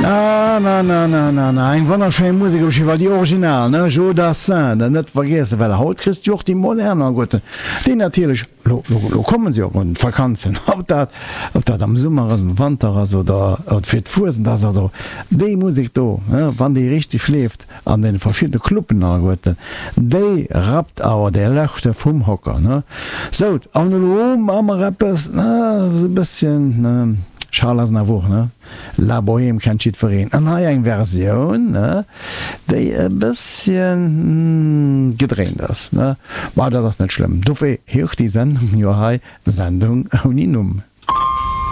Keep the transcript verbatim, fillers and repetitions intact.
Na na na na na na, eng wonnerschéin Musek op jiddwer Fall, déi original, ne, Joe Dassin, dat net vergiessen, well haut kriss de jo och déi modern alleguerten, déi natierlech, lo lo lo kommen se jo un d'Vakanzen, ob dat ob dat am Summer ass, am Wanter ass oder fir d'Fuesent ass, also déi Musek do, ne, wann déi richteg leeft an deene verschiddene Cluben alleguerten, déi rappt awer dee Leschte vum Hocker, ne. Sou, an elo maache mer eppes, ne, e bësschen, ne, Charles Aznavour, ne, La Bohème kennt jiddwereen. An hei eng Versioun, ne, déi e bësschen gedréint ass, ne. Ma dat ass net schlëmm, dofir heescht déi Sendung jo hei Sendung ouni Numm.